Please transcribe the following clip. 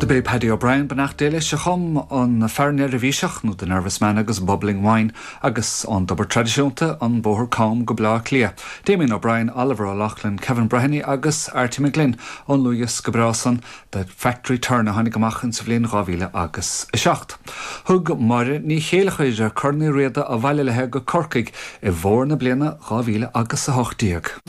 Do b'é Paddy O'Brien, beannacht Dé leis, a chum An Fear Neirbhíseach nó The Nervous Man agus Bubbling Wine agus ón dtobar traidisiúnta, An Bóthar Cam go Baile Átha Cliath, Damien O'Brien, Oliver O'Loughlin, Kevin Breheny agus Arty McGlynn ón ndlúthdhiosca breá san The Factory Turn a tháinig amach insa bhliain 2000 agus 7. Thug Máire Ní Chéilleachair Corn Uí Riada abhaile léi go Corcaigh i bhfómhar na bliana 2000 agus 18.